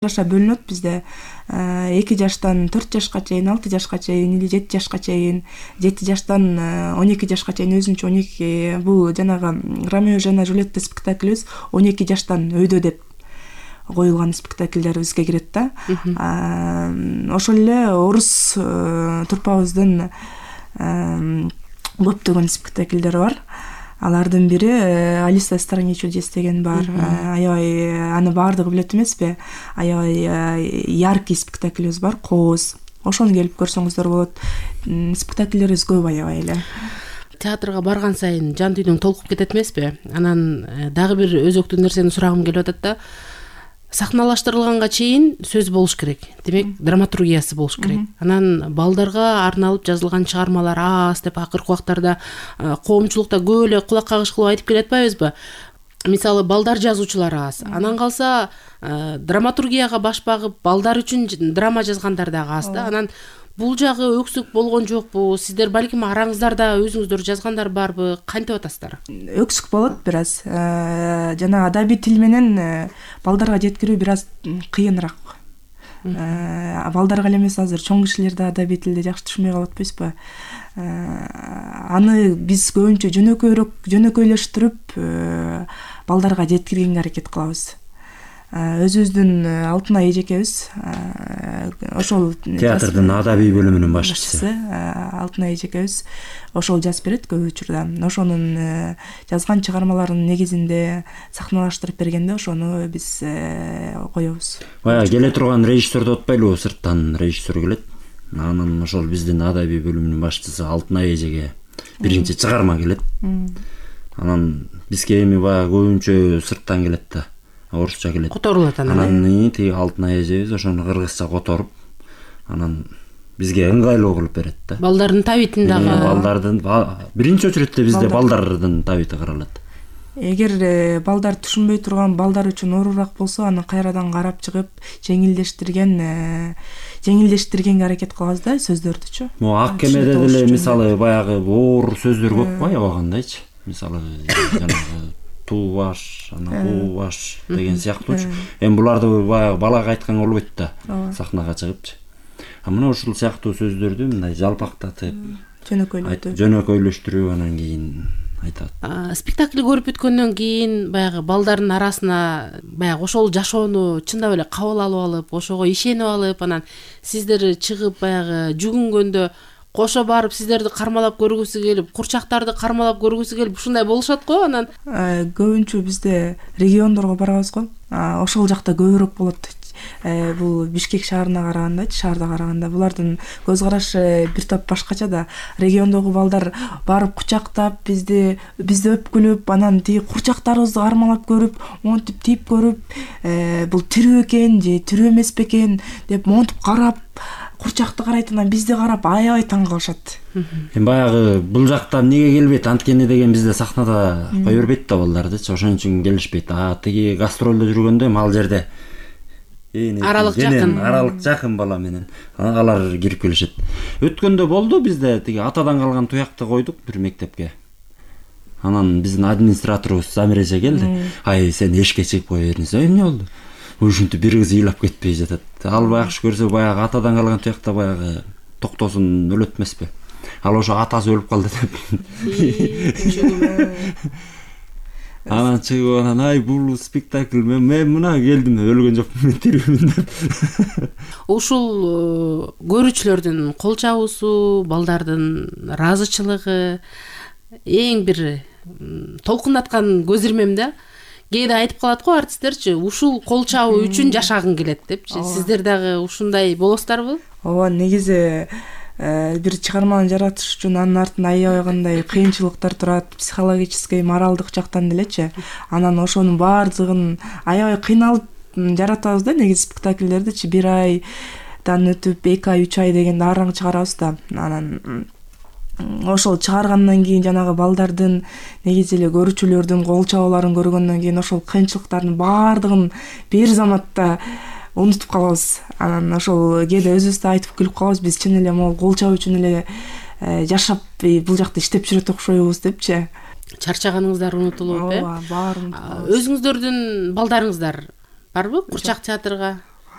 жаша бөлүнөт бизде. 2 жаштан 4 жашка чейин, 6 жашка чейин или 7 жашка чейин, 7 жаштан 12 жашка чейин өзүнчө 12 бул жанагы Ромео жана Джульетта спектаклибиз 12 жаштан өйдө деп коюлган спектакльдер бизге кирет да. Ошол эле орус труппабыздын көптөгөн спектакльдери бар. Алардын бири Алиса в стране чудес деген бар. Аябай аны баардыгы билет эмеспи? Аябай яркий спектакльбиз бар, Кооз. Ошону келип көрсөңүздөр болот. Спектакльдерибиз көп аябай эле. Театрга барган сайын жан дүйнөң толкуп кетет эмеспи? Анан дагы бир өзөктүү нерсени сурагым келип атат да. Сахналаштырылганга чейин сөз болуш керек. Демек, драматургиясы болуш керек. Анан балдарга арналып жазылган чыгармалар аз деп акыркы убактарда коомчулукта көп эле кулак кагыш кылып айтып келатпайбызбы? Мисалы, балдар жазуучулар аз. Анан калса драматургияга баш багып, балдар үчүн драма жазгандар дагы аз да. Анан бул жагы өксүк болгон жокпу? Сиздер балким араңыздарда өзүңүздөр жазгандар барбы? Кантип атасыздар? Өксүк болот бир аз. Жана адабий тил менен балдарга жеткирүү бир аз кыйыныраак. Балдарга эле эмес, азыр чоң кишилер да адабий тилди жакшы түшүнбөй калып атпайсызбы? Аны биз көбүнчө жөнөкөйлөштүрүп балдарга жеткиргенге аракет кылабыз. Өзүбүздүн Алтынай эжекебиз ошол театрдын адабий бөлүмүнүн башчысы Алтынай эжекебиз ошол жазып берет көп учурда. Ошонун жазган чыгармаларынын негизинде сахналаштырып бергенде ошону биз коебуз. Баягы келе турган режиссерди отпайлыбы? Сырттан режиссер келет. Анан ошол биздин адабий бөлүмүнүн башчысы Алтынай эжеге биринчи чыгарма келет. Анан бизге эми баягы көбүнчө сырттан келет да. Орусча келет. Которулат анан. Анан тиги Алтынай эжебиз ошону кыргызча которуп, анан бизге ыңгайлуу кылып берет да. Балдардын табитин дагы. Балдардын биринчи очередте бизде балдардын табити каралат. Эгер балдар түшүнбөй турган балдар үчүн оорураак болсо, аны кайрадан карап чыгып, жеңилдештиргенге аракет кылабыз да сөздөрдүчү. Могу ак кемеде деле мисалы баягы оор сөздөр көп го аябагандайчы. Мисалы жанагы туу баш, анан буу баш деген сыяктуучу. Эми буларды баягы балага айтканга болбойт да, сахнага чыгыпчы. Мына ушул сыяктуу сөздөрдү мындай жалпактатып, жөнөкөйлөштүрүп анан кийин айтат. Спектакль көрүп бүткөндөн кийин баягы балдардын арасына баягы ошол жашоону чындап эле кабыл алып алып, ошого ишенип алып, анан сиздер чыгып баягы жүгүнгөндө кошо барып сиздерди кармалап көргүсү келип, курчактарды кармалап көргүсү келип, ушундай болушат го. Анан көбүнчө бизде региондорго барабыз го. Ошол жакта көбүрөөк болот. Бул Бишкек шаарына караганда, шаарда караганда булардын көз карашы бир топ башкача да. Региондогу балдар барып кучактап, бизди өпкүлөп, анан тиги курчактарыбызды кармалап көрүп, монтип тийип көрүп, бул тирүү экен же тирүү эмес бекен деп монтип карап, курчакты карайт, анан бизди карап аябай таң калышат. Эми баягы бул жакта эмнеге келбейт? Анткени деген бизде сахнада кое бербейт да балдардычы, ошон үчүн келишпейт. Тиги гастролдо жүргөндө ал жерде аралык жакын бала менен алар кирип келишет. Өткөндө болду бизде тиги атадан калган туякты койдук бир мектепке. Анан биздин администраторубуз Замир эже келди. Ай, сен эшикке чыгып кое бериңиз. Эмне болду? Ушинтип бир кыз ыйлап кетпей жатат. Ал баягы көрсө баягы атадан калган туякта баягы токтосун өлөт эмеспи? Ал ошо атасы өлүп калды деп. Анан чыгып анан ай бул спектакль мен мына келдим өлгөн жокмун, мен тирүүмүн деп. Ушул көрүүчүлөрдүн кол чабуусу, балдардын ыраазычылыгы эң бир толкундаткан көз ирмем да. Кээде айтып калат го артисттерчи, ушул кол чабуу үчүн жашагың келет депчи. Сиздер дагы ушундай болосуздарбы? Ооба, негизи бир чыгарманы жаратыш үчүн анын артында аябай кандай кыйынчылыктар турат, психологический, моралдык жактан делечи. Анан ошонун баардыгын аябай кыйналып жаратабыз да, негизи спектакльдердичи. 1 айдан өтүп 2 ай, 3 ай дегенде араң чыгарабыз да. Анан ошол чыгаргандан кийин жанагы балдардын негизи эле көрүүчүлөрдүн кол чабууларын көргөндөн кийин ошол кыйынчылыктардын баардыгын бир заматта унутуп калабыз. Анан ошол кээде өзүбүз да айтып күлүп калабыз, биз чын эле могу кол чабуу үчүн эле жашап бул жакта иштеп жүрөт окшойбуз депчи. Чарчаганыңыздар унутулуп, ооба, баары унутулат. Өзүңүздөрдүн балдарыңыздар барбы курчак театрга?